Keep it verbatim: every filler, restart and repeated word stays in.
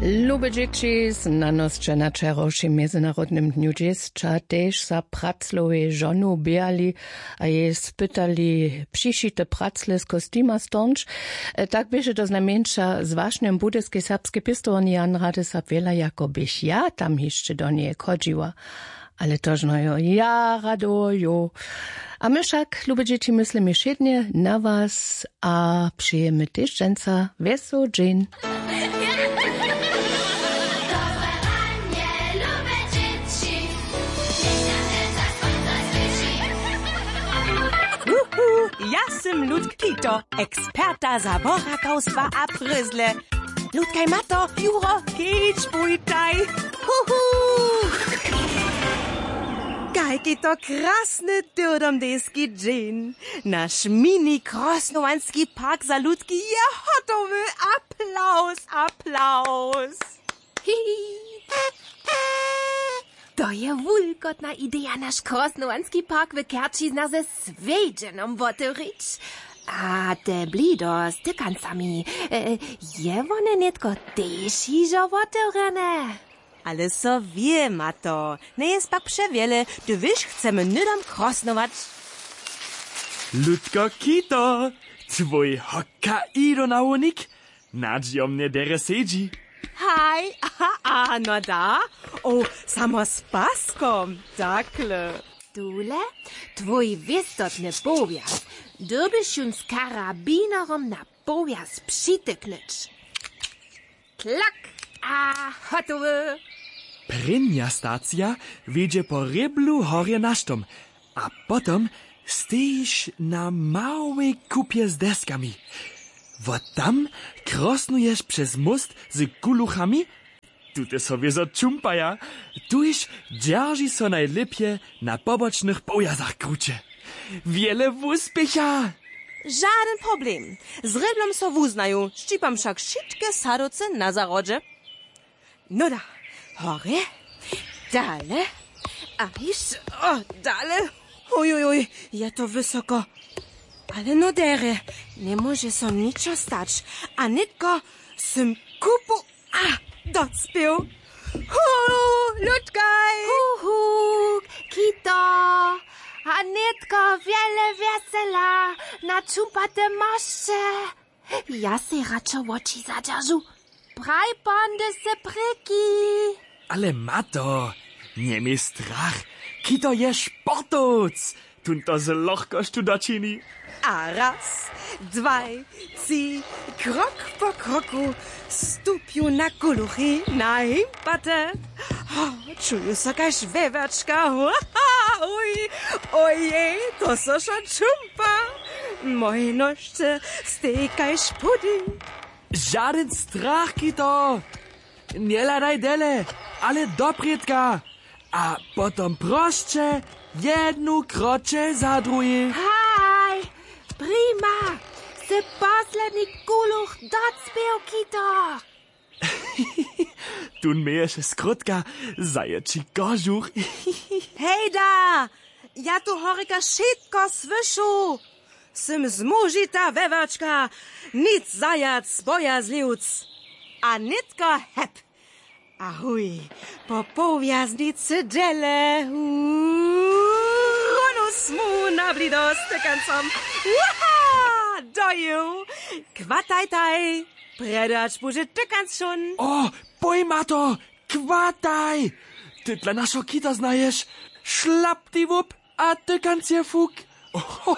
Lube dźěći, znanosće na wčerawšim mjezynarodnym dnju dźěsća tež za praclowej žonu běhali a jej spytali přišite pracle z kostima stornč. Tak běše to znajmjeńša z wašnjem budyskej serbskej pěstowarni jan radysab wjela jako běch ja tam hišće do njeje chodźiła. Ale tožno jo ja rado jo. A my wšak lube dźěći myslimy wšědnje na was a přejemy tež dźensa wjesoł dźeń. Wuhu, ja sym ludk kito, eksperta za borakawstwa a pryzle. Ludkaj mato juro, kedź bójtaj. Huhu. Kajki to krasny tyrdomdejski dźeń. Naš mini krosnowanski park za ludki je hotowy. Aplaus, aplaus. Hihi. To je wulkotna ideja naš krosnowanski park w kerčiznach ze swjedźenom wotewrić. A te blido z tykancami, e, je wone nětko tež hižo wotewrjene? Ale so wěma to njeje pak přewjele, hdyž chcemy hnydom krosnować. Ludko kito, twój hoka ido na wonik. Nadźijomnje derje sedźi. Haj. A no da. O, samo z paskom. Takle. Tule twój wěstotny powjaz. Dyrbiš jón z karabinerom na powjaz přityknyć. Klak. A hotowy. Prěnja stacija wjedźe po rěblu horje na štom. A potom stejiš na małej kupje z deskami. Wot tam krosnuješ přez móst z kuluchami. Tute so wězo čumpaja. Tuž dźerži so najlěpje na pobočnych powjazach kruće. Wjele wuspěcha. Žadyn problem. Z rěblom so wuznaju, šćipam wšak wšitke sadowce na zahrodźe. Noda. Horje. Dale. A hišće. O, dale. Oj, oj, oj, je to wysoko. Ale no derje, njemóže so ničo stać. A nětko sym kupu a docpěł. Hu, ludkaj. Huhu. Kito. A nětko wjele wjesela na čumpate mosće. Ja sej radšo woči zadźeržu. Praj pondy se prěki. Ale mato, njeměj strach. Kito je sportowc. Tón to z lochkosću dočini. A raz, dwaj, tři, krok po kroku stupju na kuluchi na himpate. Ho, čuju so kaž wewjačka. Uj, ojej, to so wšo čumpa. Moje nošće stej kaž pudding. Žadyn strach kito. Njehladaj dele, ale doprědka. A potom prosće, jednu kroće za druhej. Haj, prima. Sy posledni kuluch docpěł kito. Tón měješe skrótka zajeći kožuch. Hejda. Ja tu horjeka wšitko słyšu. Sym zmužita wewjačka. Nic zajac bojazliwc. A nětko hep. A huj, po powjaznicy dźele. Huu, ronu smu na blido z tykancom. Uha, dojił. Chwatajtaj. Prjedy hač budźe tykanc wšón. O, pojma to. Chwataj. Ty dla našo kita znaješ. Šlaptiwup. A tykanc je fuk. Ohoho.